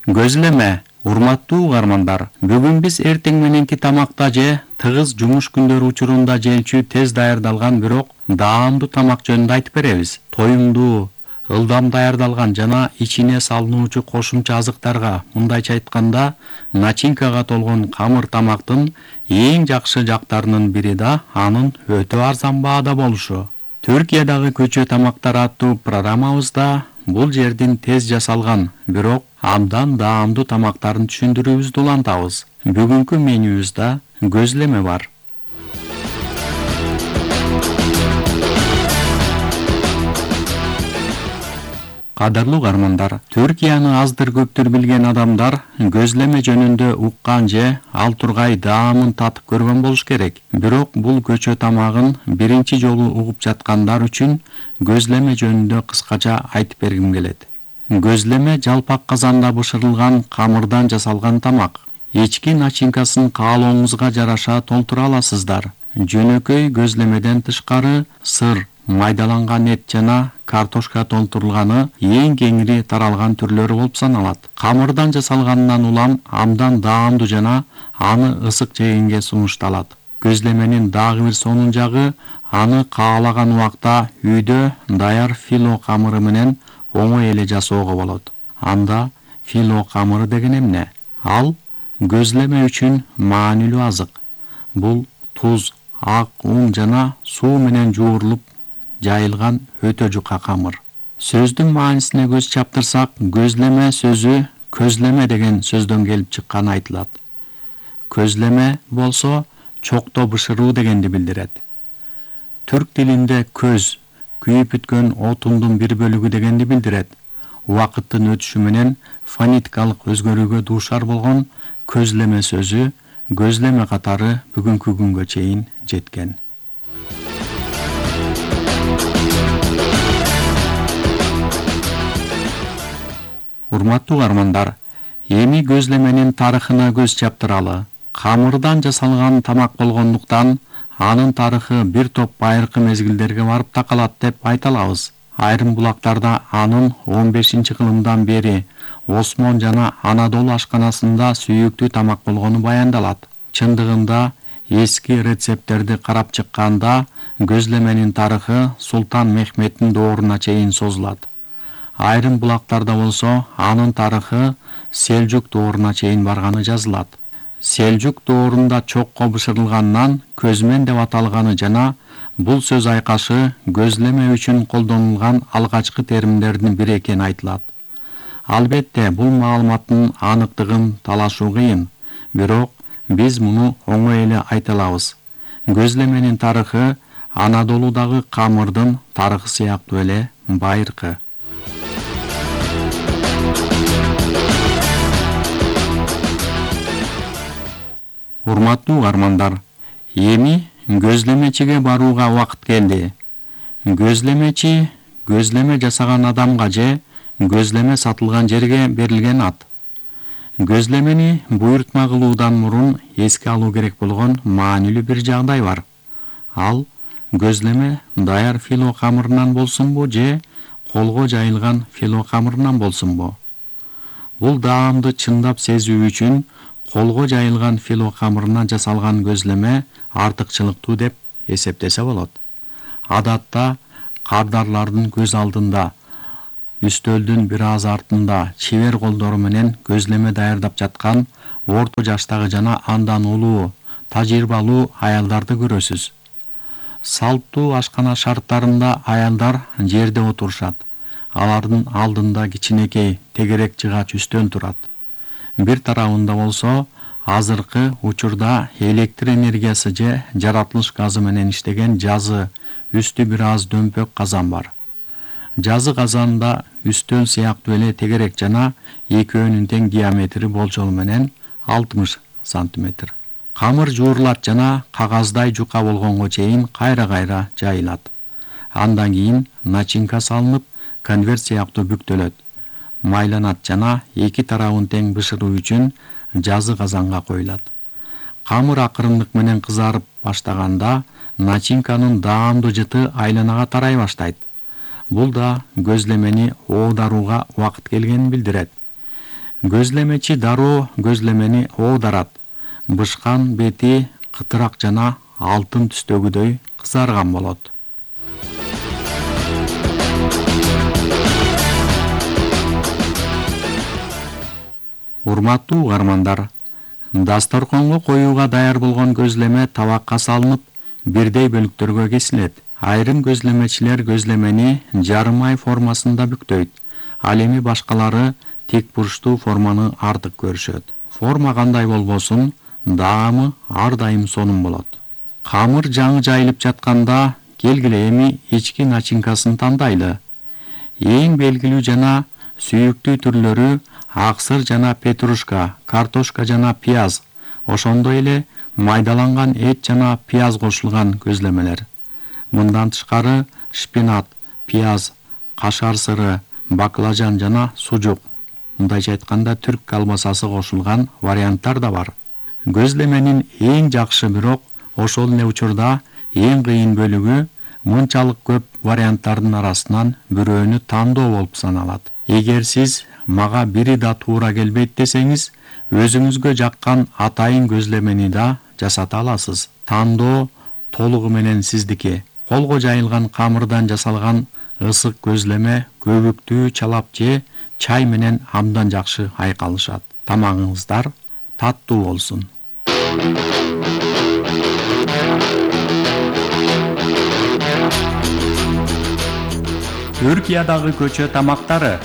Көзлеме, урматтуу угармандар. Бүгүн биз эртең мененки тамакта же тыгыз жумуш күндөрү учурунда жеүүчү тез даярдалган бирок даамдуу тамак жөнүндө айтып беребиз. Тоюмдуу, ылдам даярдалган жана ичине салынуучу кошумча азыктарга, мындайча айтканда, начинкага толгон камыр тамактын эң жакшы жактарынын бири да анын өтө арзан баада болушу. Түркиядагы көчө тамактары аттуу программабызда бул жердин тез жасалган, бирок абдан даамдуу тамактарын түшүндүрүүбүздү улантабыз. Бүгүнкү менюбузда көзлеме бар. Кадырлуу угармандар, Түркияны аздыр көптүр билген адамдар көзлеме жөнүндө уккан же ал тургай даамын татып көргөн болуш керек. Бирок бул көчө тамагын биринчи жолу угуп жаткандар үчүн көзлеме жөнүндө кыскача айтып бергим келет. Көзлеме жалпак казанда бышырылган камырдан жасалган тамак. Ички начинкасын каалооңузга жараша толтура аласыздар. Жөнөкөй көзлемеден тышкары сыр, майдаланган эт жана картошка толтурулганы эң кеңири таралган түрлөрү болуп саналат. Камырдан жасалганынан улам абдан даамдуу жана аны ысык жегенге сунушталат. Көзлеменин дагы бир сонун жагы аны каалаган убакта үйдө даяр фило камыры менен оңой эле жасоого болот. Анда фило камыры деген эмне? Ал көзлеме үчүн маанилүү азык. Бул туз, ак ун жана суу менен жуурулуп жайылган өтө жука камыр. Сөздүн маанисине көз чаптырсак, көзлеме сөзү көзлеме деген сөздөн келип чыкканы айтылат. Көзлеме болсо чокто бышыруу дегенди билдирет. Түрк тилинде көз күйүп бүткөн отундун бир бөлүгү дегенди билдирет. Убакыттын өтүшү менен фонетикалык өзгөрүүгө дуушар болгон көзлеме сөзү көзлеме катары бүгүнкү күнгө чейин жеткен. Урматтуу угармандар, эми көзлеменин тарыхына көз чаптыралы. Камырдан жасалган тамак болгондуктан анын тарыхы бир топ байыркы мезгилдерге барып такалат деп айта алабыз. Айрым булактарда анын 15-кылымдан бери Осмон жана Анадолу ашканасында сүйүктүү тамак болгону баяндалат. Чындыгында эски рецепттерди карап чыкканда көзлеменин тарыхы Султан Мехметтин дооруна чейин созулат. Айрым булактарда болсо анын тарыхы Селжук дооруна чейин барганы жазылат. Селжук доорунда чокко бышырылгандан көзмен деп аталганы жана бул сөз айкашы көзлеме үчүн колдонулган алгачкы терминдердин бири экени айтылат. Албетте, бул маалыматтын аныктыгын талашуу кыйын, бирок биз муну оңой эле айта алабыз. Көзлеменин тарыхы Анадолудагы камырдын тарыхы сыяктуу эле байыркы. Урматтуу угармандар, эми көзлемечиге барууга убакыт келди. Көзлемечи көзлеме жасаган адамга же көзлеме сатылган жерге берилген ат. Көзлемени буйртма кылуудан мурун эске алуу керек болгон маанилүү бир жагдай бар. Ал көзлеме даяр фило камырынан болсунбу же колго жайылган фило камырынан болсунбу? Бул даамды чындап сезүү үчүн колго жайылган фило камырынан жасалган көзлеме артыкчылыктуу деп эсептесе болот. Адатта кардарлардын көз алдында, үстөлдүн бир аз артында чебер колдору менен көзлеме даярдап жаткан орто жаштагы жана андан улуу, тажрыйбалуу аялдарды көрөсүз. Салттуу ашкана шарттарында аялдар жерде отурушат. Алардын алдында кичинекей тегерек жыгач үстөн турат. Бир тарабында болсо азыркы учурда электр энергиясы же жаратылыш газы менен иштеген жазы, үстү бир аз дөмпөк казан бар. Жазы казанда үстөл сыяктуу эле тегерек жана экөөнүн тең диаметри болжол менен 60 сантиметр. Камыр жуурулат жана кагаздай жука болгонго чейин кайра-кайра жайылат. Андан кийин начинка салынып, конверт сыяктуу бүктөлөт. Майланат жана эки тарабын тең бышыруу үчүн жазы казанга коюлат. Камыр акырындык менен кызарып баштаганда начинканын даамдуу жыты айланага тарай баштайт. Бул да көзлемени оодаруга убакыт келгенин билдирет. Көзлемечи дароо көзлемени оодарат. Бышкан бети кытырак жана алтын түстөгүдөй кызарган болот. Урматтуу угармандар, дасторконго коюуга даяр болгон көзлеме табакка салынып, бирдей бөлүктөргө кесилет. Айрым көзлемечилер көзлемени жарым ай формасында бүктөйт. Ал эми башкалары тик бурчтуу форманы артык көрүшөт. Форма кандай болбосун, даамы ар дайым сонун болот. Камыр жаңы жайылып жатканда келгиле эми ички начинкасын тандайлы. Эң белгилүү жана сүйүктүү түрлөрү аксыр жана петрушка, картошка жана пияз, ошондой эле майдаланган эт жана пияз кошулган көзлемелер. Мындан тышкары шпинат, пияз, кашар сыры, баклажан жана сужук, мындайча айтканда түрк колбасасы кошулган варианттар да бар. Көзлеменин эң жакшы, бирок ошол эле учурда эң кыйын бөлүгү мынчалык көп варианттардын арасынан бирөөнү тандоо болуп саналат. Эгер сиз мага бири да туура келбейт десеңиз, өзүңүзгө жаккан атайын көзлемени да жасата аласыз. Тандоо толугу менен сиздики. Колго жайылган камырдан жасалган ысык көзлеме көбүктүү чалап же чай менен абдан жакшы айкалышат. Тамагыңыздар таттуу болсун. Түркиядагы көчө тамактары.